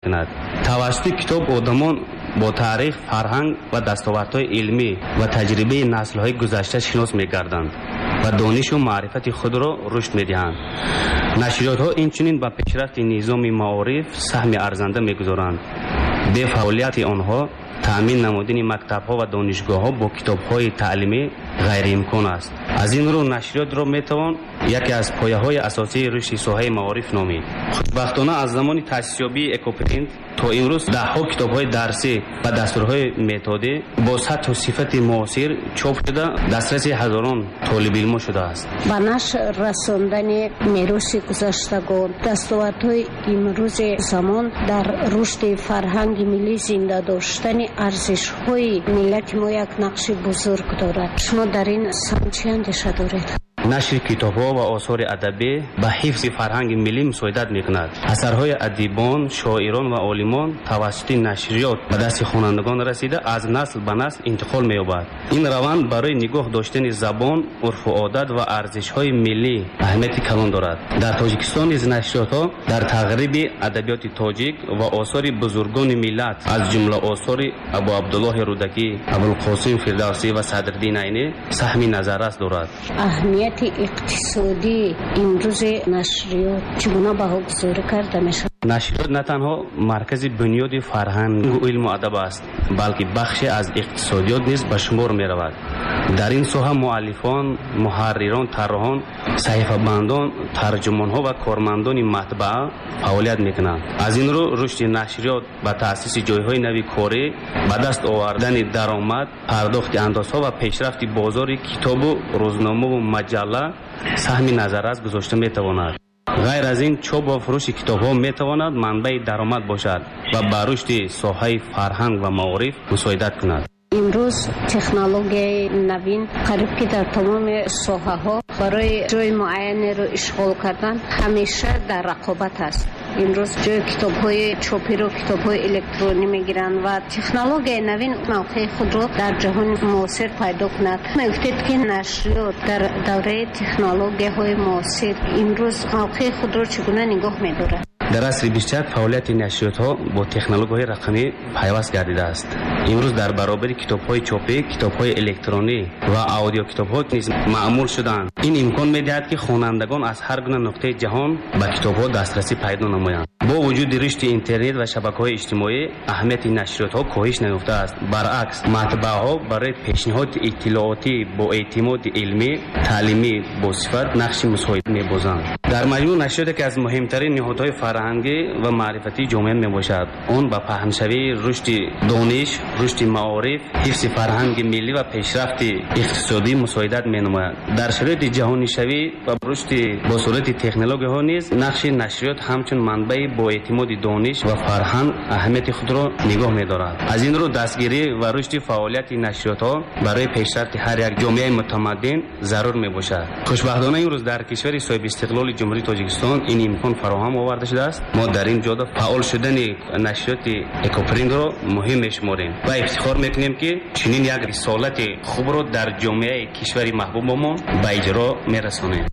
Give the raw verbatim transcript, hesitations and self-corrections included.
Мекунад. Тавассути китоб одамон бо таърих, фарҳанг ва дастовардҳои илмӣ ва таҷрибаи наслҳои гузашта шинос мегарданд ва донишу маърифати худро рушд медиҳанд. Нашриётҳо инчунин ба пешрафти низоми маориф саҳми арзанда мегузоранд. Бе фаъолияти онҳо таъмин намудани мактабҳо ва донишгоҳҳо бо китобҳои таълимӣ ғайриимкон аст. Аз ин рӯ нашриётро метавон яке аз пояҳои асосии рушди соҳаи маориф номид. Хушбахтона, аз замони таъсисёбии Экопринт то имрӯз даҳҳо китобҳои дарсӣ ва дастурҳои методӣ бо сатҳу сифати муосир чоп шуда, дастраси ҳазорон толибилмо шудааст. Ба нашр расондани мероси гузаштагон, дастовардҳои имрӯзи замон дар рушди фарҳанги миллӣ, зинда доштани арзишҳои миллати мо як нақши бузург дорад. Шумо дар ин самт чӣ андеша доред? Нашри китобҳо ва осори адабӣ ба ҳифзи фарҳанги миллӣ мусоидат мекунад. Асарҳои адибон, шоирон ва олимон тавассути нашриёт ба дасти хонандагон расида, аз насл ба насл интиқол меёбад. Ин раванд барои нигоҳ доштани забон, урфу одат ва арзишҳои миллӣ аҳамияти калон дорад. Дар Тоҷикистон низ нашриётҳо дар тағриби адабиёти тоҷик ва осори бузургони миллат, аз ҷумла осори Абу Абдуллоҳи Рӯдакӣ, Абулқосим Фирдавсӣ ва Садриддин Айнӣ саҳми назаррас дорад. Аҳамияти иқтисодии имрӯзи нашриёт чӣ гуна баҳогузорӣ карда мешавад? Нашриёт на танҳо маркази бунёди фарҳангу илму адаб аст, балки бахше аз иқтисодиёт низ ба шумор меравад. Дар ин соҳа муаллифон, муҳаррирон, тарроҳон, саҳифабандон, тарҷумонҳо ва кормандони матбаа фаъолият мекунанд. Аз ин рӯ рушди нашриёт ба таъсиси ҷойҳои нави корӣ, ба даст овардани даромад, пардохти андозҳо ва пешрафти бозори китобу рӯзномаву маҷалла саҳми назаррас гузошта метавонад. Ғайр аз ин, чоп ва фурӯши китобҳо метавонад манбаи даромад бошад ва ба рушди соҳаи фарҳанг ва маориф мусоидат кунад. Имрӯз технологияи навин қариб ки дар тамоми соҳаҳо барои ҷои муайянеро ишғол кардан ҳамеша дар рақобат аст. Имрӯз ҷои китобҳои чопиро китобҳои электронӣ мегиранд ва технологияи навин мавқеи худро дар ҷаҳони муосир пайдо кунад. Мегуфтед, ки нашриёт дар давраи технологияҳои муосир имрӯз мавқеи худро чӣ гуна нигоҳ медорад? Дар асри бисту як фаъолияти нашриётҳо бо технологияҳои рақамӣ пайваст гардидааст. Имрӯз дар баробари китобҳои чопӣ китобҳои электронӣ ва аудиокитобҳо низ маъмул шуданд. Ин имкон медиҳад, ки хонандагон аз ҳар гуна нуқтаи ҷаҳон ба китобҳо дастрасӣ пайдо намоянд. Бо вуҷуди рушди интернет ва шабакаҳои иҷтимоӣ аҳамияти нашриётҳо коҳиш наёфтааст. Баръакс, матбааҳо барои пешниҳоди иттилоотӣ бо эътимоди илмӣ, таълимӣ босифат нақши мусоид мебозанд. Дар маҷмӯъ, нашриёт яке аз муҳимтарин ниҳодҳои фарҳангӣ ва маърифатии ҷомеа мебошад. Он ба паҳншавии рушди дониш, рушди маориф, ҳифзи фарҳанги миллӣ ва пешрафти иқтисодӣ мусоидат менамояд. Дар шароити ҷаҳонишавӣ ва рушди босуръати технологияҳо низ нақши нашриёт ҳамчун манбаи боэътимоди дониш ва фарҳанг аҳамияти худро нигоҳ медорад. Аз ин рӯ дастгирӣ ва рушди фаъолияти нашриётҳо барои пешрафти ҳар як ҷомеаи мутамаддин зарур мебошад. Хушбахтона, имрӯз дар кишвари соҳибистиқлоли Ҷумҳурии Тоҷикистон ин имкон фароҳам оварда шудааст. Мо дар ин ҷода фаъол шудани нашриёти Экопринтро муҳим мешуморем ва ифтихор мекунем, ки чунин як рисолати хубро дар ҷомеаи кишвари маҳбубамон ба иҷро мерасонем.